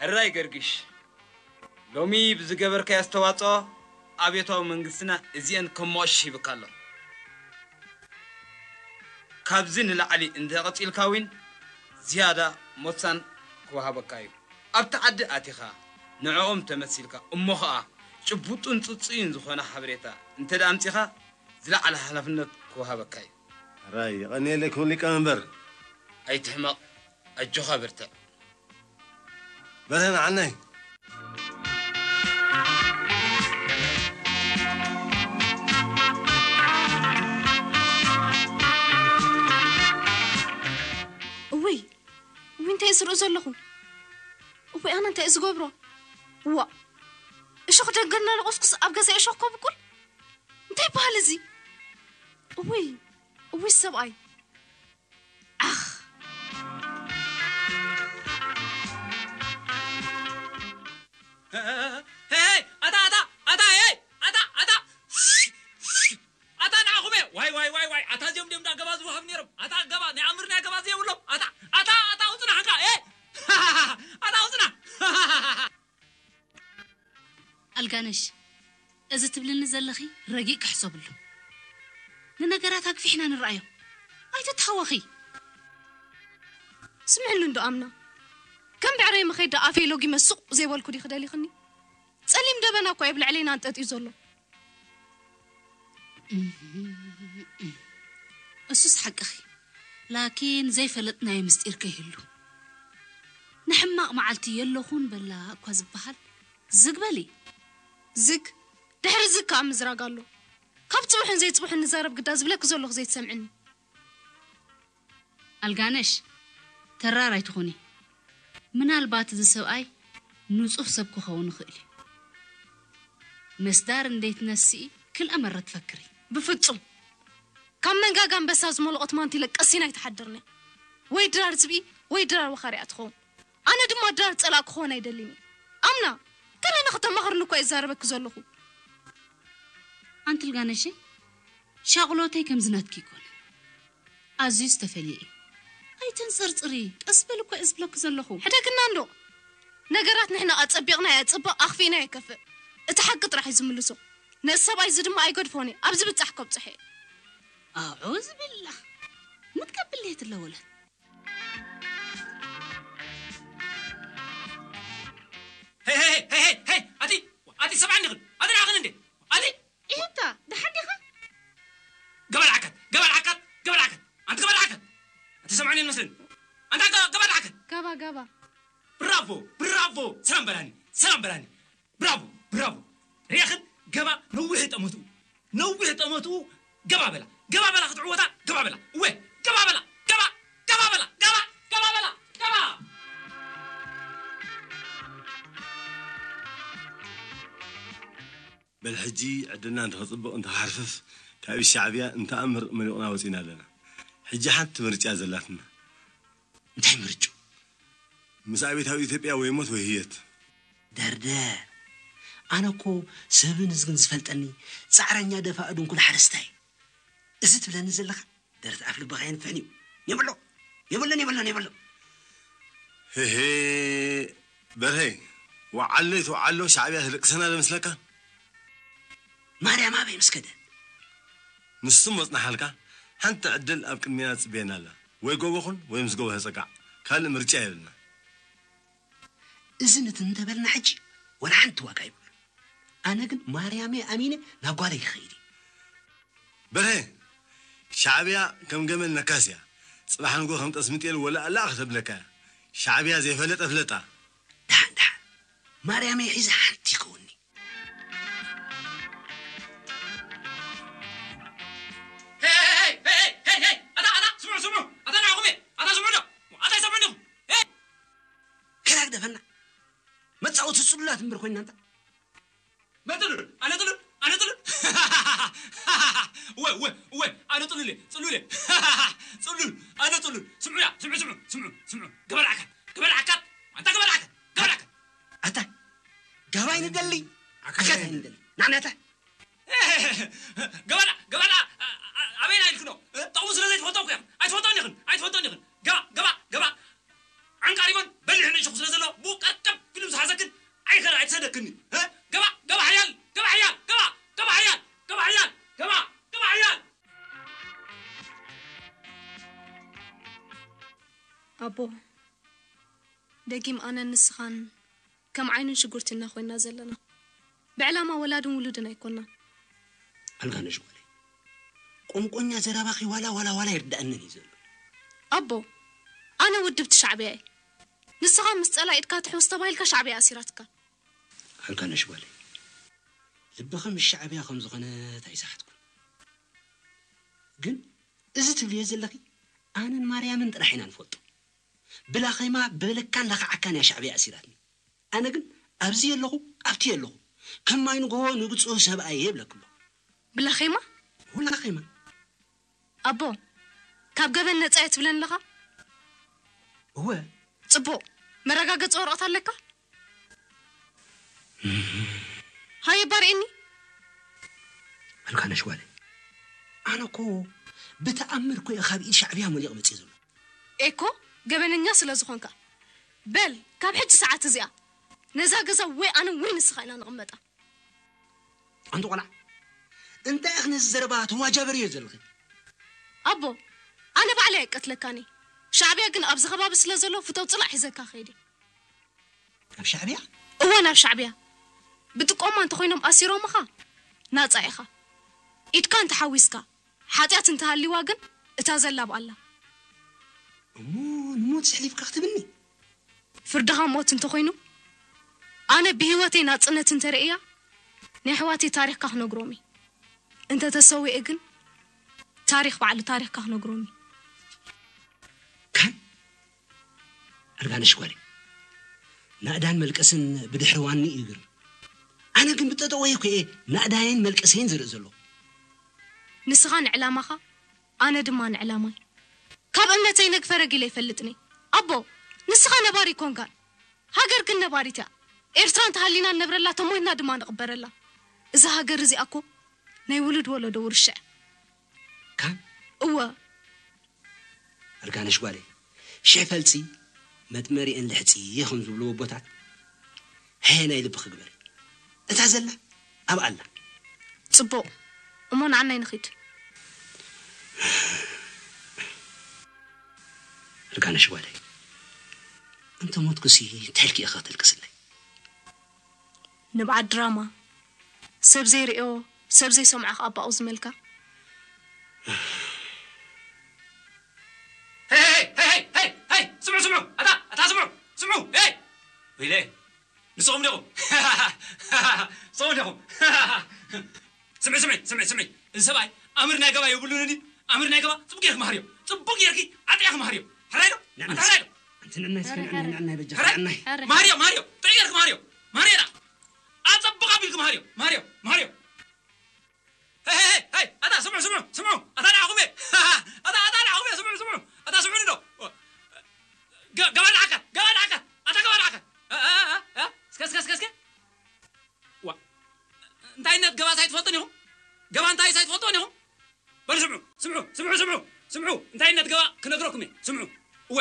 ሕራይ ገርግሽ፣ ሎሚ ብዝገበርካዮ ኣስተዋጽኦ ኣብዮታዊ መንግስትና እዚኤን ከም መቐሽ ሂብካ ኣሎ። ካብዚ ንላዕሊ እንተቐጺልካ እውን ዝያዳ ሞሳን ክወሃበካ እዩ። ኣብቲ ዓዲ ኣቲኻ ንዕኦም ተመሲልካ እሞ ኸኣ ጭቡጡን ጽጹይን ዝኾነ ሓበሬታ እንተ ደኣ ኣምጺኻ ዝለዓለ ሓላፍነት ክወሃበካ እዩ። ሕራይ የቐንየለይ ክቡር ሊቀ መንበር። ኣይትሕመቕ፣ ኣጆኻ በርትዕ። በርሀ ንዓናይ። እውይ እውይ እንታይ ዝርኢ ዘለኹ? እውይ ኣነ እንታይ ዝገብሮ? ዋ እሾኽ ደንገልና ለቆስኩስ ኣብ ገዛ እሾኽ ከብቁል እንታይ ይበሃል እዚ? እውይ እውይ ሰብኣይ ኣኽ ሄይ ኣታ ኣታ ኣታ ሄይ ኣታ ኣታ ኣታ ንዓኹም እየ ዋይ ዋይ ዋይ ዋይ ኣታ እዚኦም ድዮም ዳ ገባ ዝወሃብ ነይሮም ኣታ ገባ ናይ ኣምር ናይ ገባ ዘይብሎም ኣታ ኣታ ኣታ ውፅና ሓንካ ሄይ ኣታ ውፅና ኣልጋነሽ፣ እዚ ትብልኒ ዘለኺ ረጊእ ክሕሰብሉ። ንነገራት ኣግፊሕና ንርኣዮ። ኣይትተሃወኺ። ስምዕኒ እንዶ ኣምና፣ ከም ብዕረይ መኸይድ ደኣ ኣፈይ ሎጊመ ሱቕ ዘይበልኩ ዲኺ ደሊኽኒ? ጸሊም ደበና እኮ እዩ ኣብ ልዕለይና ኣንጠጥዩ ዘሎ። እሱስ ሓቅኺ፣ ላኪን ዘይፈለጥናዮ ምስጢር ከይህሉ። ንሕማቕ መዓልቲ የለኹን በላ እኳ ዝበሃል ዝግ በሊ። ዝግ ድሕሪ ዝግ ከኣ ምዝራግ ኣሎ። ካብ ጽቡሕን ዘይጽቡሕን ንዛረብ ግዳ ዝብለኪ ዘለኹ ዘይትሰምዕኒ። ኣልጋነሽ፣ ተራር ኣይትኹኒ። ምናልባት እዚ ሰብኣይ ንጹህ ሰብ ክኸውን ይኽእል እዩ። መስዳር እንዴት ነስኢ ክልአ መረ ትፈክሪ። ብፍጹም! ካብ መንጋጋ ኣንበሳ ዝመለቖት ማንቲለ ቀሲና ኣይትሓድርን እያ። ወይ ድራር ዝብኢ ወይ ድራር ወኻሪኣ ትኸውን። ኣነ ድማ ድራር ጸላእ ክኾን ኣይደልን እየ። ኣምና፣ ገለ ንኽተማኽርኒ እኳ እየ ዝዛረበኪ ዘለኹ። ኣንቲ ኣልጋነሸይ፣ ሻቕሎተይ ከምዚ ናትኪ ኣይኮነን። ኣዝዩ ዝተፈልየ እዩ። ኣይተንጸርጽሪ፣ ቀስ በሊ እኮ እየ ዝብለኪ ዘለኹ። ሕደግና እንዶ፣ ነገራት ንሕና ኣጸቢቕናዮ የጽብቕ፣ ኣኽፊእናዮ የከፍእ። እቲ ሓቂ ጥራሕ እዩ ዝምልሶ። ነዚ ሰብኣይ እዚ ድማ ኣይገድፎን እየ፣ ኣብ ዝብጻሕ ከብጽሖ እየ። ኣዑዝ ቢላ፣ ምትከብል ሌት ኣለወለት። ሄይ ሄይ ሄይ ሄይ ሄይ ኣቲ ኣቲ ሰብዓን ዲኽን ኣቲ ንዓኽን እንዴ ኣቲ ኢህታ ደሓን ዲኻ? ገባል ዓካት ገባል ዓካት ገባል ዓካት ኣንቲ ገባል ዓካት ኣቲ ሰብዓን መስልን ኣንታ ገባል ዓካት ጋባ ጋባ ብራቮ ብራቮ ሰላም በላኒ ሰላም በላኒ ብራቮ ብራቮ ርያኽን ገባ ነዊሕ ጠመትኡ ነዊሕ ጠመትኡ ገባ በላ ገባ በላ ክትዕወታ ገባ በላ እወ ገባ በላ ገባ ገባ በላ ገባ ገባ በላ ገባ በል ሕጂ ዕድልና እንተኸፅብቕ እንተኻሕርፍፍ ካብ ኢድ ሻዕብያ እንተኣምር መሊቑና ወፂና ኣለና። ሕጂ ሓንቲ ምርጫ ዘላትና። እንታይ ምርጭኡ? ምስ ኣብዮታዊ ኢትዮጵያ ወይ ሞት ወይ ህየት። ደርደር! ኣነ እኮ ሰብን ህዝግን ዝፈልጠኒ ፃዕረኛ ደፋእ ድንኩል ሓረስታይ። እዚ ትብለኒ ዘለኻ ደረት ኣፍ ልብኻ የንፍሕን እዩ። የብሎ የብሎን የብሎን የብሎ። ህሄ በርሀይ፣ ወዓሎ ይትወዓሎ ሻዕብያ ተደቅሰና ዶ መስለካ? ማርያም ኣበይ ምስ ከደ? ንሱ መጽናሓልካ ሓንቲ ዕድል ኣብ ቅድሜና ትጽበየና ኣላ። ወይ ጎቦ ኩን ወይ ምስ ጎቦ ተጸጋዕ። ካልእ ምርጫ የብልና። እዚ ንትን እንተበልና ሕጂ ወላ ሓንቲ ዋጋ የብሉ። ኣነ ግን ማርያመይ ኣሚነ ናብ ጓለይ ክኸይድ እየ። በርሀ፣ ሻዕብያ ከም ገመል ነካስ እያ። ጽባሕ ንግሆ ከም ጠስሚ ጤል ወላእ ላእ ከተብለካ እያ። ሻዕብያ ዘይፈለጠ ፍለጣ። ደሓን ደሓን ማርያመይ ሒዘ ሓንቲ ይከውኒ። ኣታ ኣታ ስምዑ ስምዑ ኣታ ንዓኹም እየ ኣታ ስምዑ ዶ ኣታ ይሰምዑ ዲኹም ከላ ግደፈና መጻወቲ ጽሉላት እምበር ኮይንና እንታ መጥሉል ኣነ ጥሉል ኣነ ጥሉል እወ እወ እወ ኣነ ጥሉል እየ ጥሉል እየ ጥሉል ኣነ ጥሉል ስምዑ ያ ስምዑ ስምዑ ስምዑ ስምዑ ገበል ዓካት ገበል ዓካት ኣንታ ገበል ዓካት ገበል ዓካት ኣታ ጋባይ ንደሊ ዓካት ኣይንደሊ ናዕናታ ገበላ ገበላ ኣበይና ኢልክኖ ጠቕሙ ስለ ዘይትፈቶ ኩያ ኣይትፈቶን ኢኽን ኣይትፈቶን ኢኽን ገባ ገባ ገባ ዓንቃሪቦን በሊሕ ንእሽኹ ስለ ዘሎ ብኡ ቀርቀብ ኣይትሰደክኒ። እ? ገባ፣ ገባ ሓያል፣ ገባ ሓያል፣ ገባ፣ ገባ ሓያል፣ ገባ ሓያል፣ ገባ፣ ገባ ሓያል። ኣቦ፣ ደጊም ኣነን ንስኻን ከም ዓይንን ሽጉርትን ኢና ኮይና ዘለና። ብዕላማ ወላድን ውሉድን ኣይኮናን። ኣልጋነሽ ጓለይ፣ ቆንቆኛ ዘረባኺ ዋላ ዋላ ዋላ ይርዳእንን እዩ ዘሎ። ኣቦ፣ ኣነ ውድብቲ ሻዕብያ እየ። ንስኻ ምስ ጸላኢ ኢድካ ትሕውስ ተባሂልካ ሻዕብያ ኣሲራትካ። ኣልጋነሽ ጓለይ፣ ልብኺ ምስ ሻዕብያ ከም ዝኾነት ኣይሰሓትኩን። ግን እዚ ትብልዮ ዘለኺ ኣነን ማርያምን ጥራሕ ኢና ንፈልጦ። ብላኼማ በለካን ለኽዓካን እያ ሻዕብያ ኣሲራትኒ። ኣነ ግን ኣብዚ የለኹ፣ ኣብቲ የለኹ፣ ከም ማይ ንግሆ ንብጽሑ ሰብኣይ እየ ይብለኪ ኣለኹ። ብላኼማ? ብላኼማ። ኣቦ፣ ካብ ገበን ነጻ እየ ትብለኒ ኣለኻ? እወ። ጽቡቕ። መረጋገጺ ወረቐት ኣለካ? ሃየ፣ ባርኤኒ። ኣልጋነሽ ጓለይ፣ ኣነ እኮ ብተኣምር እኮ እየ ካብ ኢድ ሻዕብያ መሊቑ መጽእ ዘሎ። ኤኮ፣ ገበነኛ ስለ ዝኾንካ። በል፣ ካብ ሕጂ ሰዓት እዚኣ ነዛ ገዛ ወይ ኣነ ወይ ንስኻ ኢና ንቕመጣ። ኣንቲ ቆልዓ፣ እንታይ ኢኺ ነዚ ዘረባ ተዋጃበርዮ ዘለኺ? ኣቦ፣ ኣነ ባዕለይ ኣይቀትለካን እየ። ሻዕብያ ግን ኣብዚ ከባቢ ስለ ዘሎ ፍተው ጽላእ ሒዘካ ከይድ እየ። ናብ ሻዕብያ? እወ፣ ናብ ሻዕብያ። ብጥቆማ እንተኾይኖም ኣሲሮምኻ፣ ናጻ ኢኻ። ኢድካ እንተሓዊስካ፣ ሓጢኣት እንተሃልይዋ ግን፣ እታ ዘላ ብኣላ። እሞ ንሞት ዘሕሊፍካ ክትብኒ? ፍርድኻ ሞት እንተኾይኑ፣ ኣነ ብህይወተይ ናጽነት እንተርእያ፣ ናይ ኣሕዋተይ ታሪኽካ ክነግሮም እየ። እንተተሰዊኤ ግን፣ ታሪኽ ባዕሉ ታሪኽካ ክነግሮም እየ። ካን ኣልጋነሽ ጓለይ፣ ናእዳን መልቀስን ብድሕሪ ዋኒ እዩ ግርም። ኣነ ግን ብጠጠወይ እኮ እየ ናእዳየን መልቀሰይን ዝርኢ ዘለኹ። ንስኻ ንዕላማኻ፣ ኣነ ድማ ንዕላማይ። ካብ እምነተይ ነግ ፈረግ ኢለ ኣይፈልጥን እየ። ኣቦ፣ ንስኻ ነባሪ ኣይኮንካን። ሃገር ግን ነባሪት እያ። ኤርትራ እንተሃሊና ንነብረላ፣ ተሞይትና ድማ ንቕበረላ። እዛ ሃገር እዚኣ እኮ ናይ ውሉድ ወለዶ ውርሻ እያ። ካን? እወ። ኣልጋነሽ ጓለይ፣ ሽሕ ፈልጺ መጥመሪአን ልሕጺ ከም ዝብሉ ኣቦታት፣ ሕየ ናይ ልብኺ ግበሪ። እታ ዘላ ኣብኣ ኣላ። ጽቡቕ። እሞ ንዓናይ ንኺድ። ኣልጋነሽ ጓለይ፣ እንተ ሞትኩሲ እንታይ ኢልኪ ኢኺ ከተልቅስለይ? ንብዓት ድራማ፣ ሰብ ዘይርእዮ፣ ሰብ ዘይሰምዖ ከኣ ባኡ ዝመልካ። ሄይ፣ ሄይ፣ ሄይ፣ ሄይ፣ ሄይ፣ ስምዑ፣ ስምዑ፣ ኣታ፣ ኣታ ስምዑ፣ ስምዑ፣ ሄይ! ወይለ፣ ንስኹም ዲኹም? ንስኹም ዲኹም? ስምዒ፣ ስምዒ፣ ስምዒ፣ ስምዒ። እዚ ሰብኣይ ኣምር ናይ ገባ የብሉን ድዩ? ኣምር ናይ ገባ ጽቡቅ ጌርኪ መሃርዮ። ጽቡቅ ጌርኪ ኣጥዕኺ መሃርዮ። ሕራይ ዶ? ንዕናይ፣ ኣንታ ሕራይ ዶ? ኣንቲ ንዕናይ እስከ ሕራይ፣ ንዕናይ፣ ሕራይ። ንዕናይ በጃ፣ ሕራይ፣ ሕራይ። ንዕናይ። ማርዮ፣ ማርዮ፣ ጥዑይ ጌርኪ መሃርዮ። ማርዮ ዳ። ኣጸብቕ ኣቢልኪ መሃርዮ። ማርዮ፣ ማርዮ። ሄይ፣ ሄይ፣ ሄይ፣ ሄይ፣ ኣታ ስምዑ፣ ስምዑ፣ ስምዑ። ኣታ ንዓኹም እየ። ኣታ፣ ኣታ ንዓኹም እየ። ስምዑ፣ ስምዑ። ኣታ ስምዑኒ ዶ? ገ-፣ ገባ ንዓካ፣ ገባ ንዓካ። ኣታ ገባ ንዓካ። እ፣ እ፣ እ፣ እ። እስከ፣ እስከ፣ እስከ፣ እስከ። ዋ። እንታይ እነት ገባስ ኣይትፈልጡን ኢኹም? ገባ እንታይስ ኣይትፈልጡን ኢኹም? በሉ ስምዑ፣ ስምዑ፣ ስምዑ፣ ስምዑ፣ ስምዑ። እንታይ እነት ገባ ክነግረኩም እየ። ስምዑ። እወ፣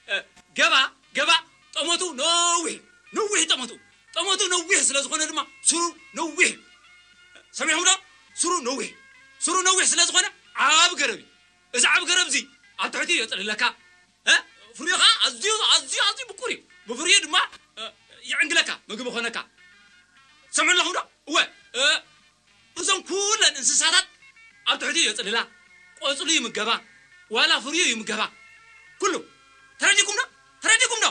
እ፣ ገባ፣ ገባ፣ ጠመቱ ነዊሕ፣ ነዊሕ ጠመቱ። ጠመቱ ነዊሕ ስለ ዝኾነ ድማ ስሩ ነዊሕ። ሰሚዕኹም ዶ? ስሩ ነዊሕ። ስሩ ነዊሕ ስለ ዝኾነ ዓቢ ገረብ እዩ። እዚ ዓቢ ገረብ እዚ ኣብ ትሕቲ የጽልለካ። እ? ፍሪኻ ኣዝዩ፣ ኣዝዩ፣ ኣዝዩ ምቁር እዩ። ብፍሪኡ ድማ፣ እ፣ ይዕንግለካ፣ ምግቢ ኮነካ። ሰምዑ ኣለኹም ዶ? እወ፣ እ፣ እዞም ኩለን እንስሳታት ኣብ ትሕቲ የጽልላ፣ ቆጽሉ ይምገባ፣ ዋላ ፍሪኡ ይምገባ። ኩሉ። ተረዲኩም ዶ? ተረዲኩም ዶ?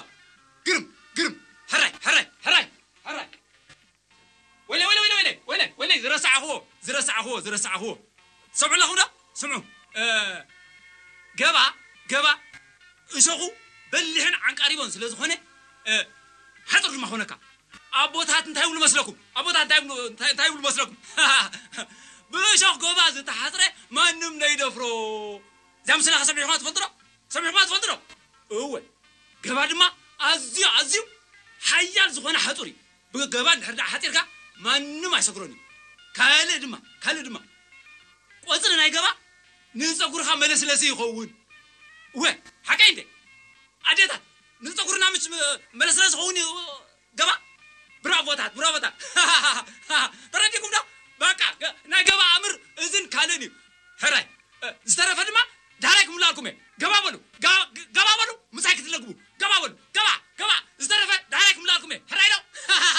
ግርም፣ ግርም። ሕራይ፣ ሕራይ፣ ሕራይ፣ ሕራይ። ወይለ፣ ወይለ፣ ወይለ፣ ወይለ፣ ወይለ፣ ወይለ፣ ዝረሳዕኽዎ፣ ዝረሳዕኽዎ፣ ዝረሳዕኽዎ። ሰምዑ ኣለኹም ዶ? ስምዑ። እ፣ ገባ፣ ገባ፣ እሾኹ በሊሕን ዓንቃሪቦን ስለ ዝኾነ፣ እ፣ ሓጹር ድማ ኾነካ። ኣቦታት እንታይ ይብሉ መስለኩም? ኣቦታት እንታይ ይብሉ፣ እንታይ፣ እንታይ ይብሉ መስለኩም? ብእሾኽ ገባ ዝተሓጽረ ማንም ነይደፍሮ። እዛ ምስላኻ ሰሚዕኹማ ትፈልጡ ዶ? ሰሚዕኹማ ትፈልጡ ዶ? እወ። ገባ ድማ ኣዝዩ፣ ኣዝዩ ሓያል ዝኾነ ሓጹር እዩ። ብገባ እንድሕር ደኣ ሓጺርካ ማንም ኣይሰግሮን እዩ። ካልእ ድማ፣ ካልእ ድማ፣ ቆጽሊ ናይ ገባ ንጸጉርኻ መለስለሲ ይኸውን። እወ፣ ሓቀይ እንዴ? ኣዴታት፣ ንጸጉርና ምች መለስለሲ ይኸውን እዩ ገባ? ብራቮታት፣ ብራቮታት። ተረዲእኩም ዶ? በቃ፣ ገ-፣ ናይ ገባ ኣምር እዝን ካልእን እዩ። ሕራይ። እ፣ ዝተረፈ ድማ